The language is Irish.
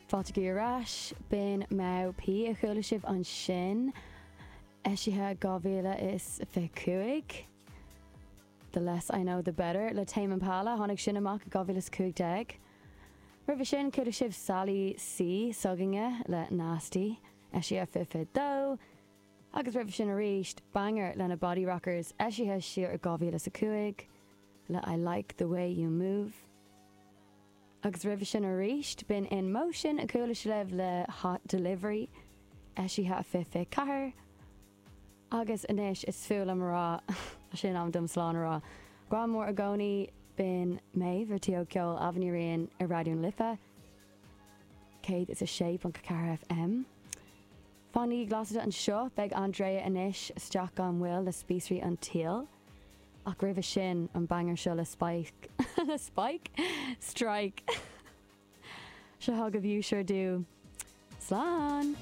Fáilte chugaibh ar ais. B'in Mau P a chuala sibh ansin, eisithe 2025. The Less I Know The Better le Tame Impala, tháinig sin amach i 2015. Roimhe sin, chuala sibh Sally C s'againne le Nasty, eisithe 2022. Agus roimhe sin arís, Banger le na Body Rockers, eisithe siar i 2005 le I Like The Way You Move. Agus roimhe sin arís, b'in In Motion a chuala sibh le Hot Delivery, eisithe 2024. Agus anois is fuath liom a rá, tá sé in am dom slán a rá. Grá mór i gcónaí, b'in Méabh ar Tí Óg Ceoil, Ailbhe Ní Riain ar Raidió na Life, 106.4 FM. Fanaigí glasraí anseo, beidh Andrea anois isteach gan mhoill le Spíosraí an tSaoil. Ach roimhe sin, an banger seo le Spike, le Spike? Strike! Seo chugaibh You Sure Do. Slán!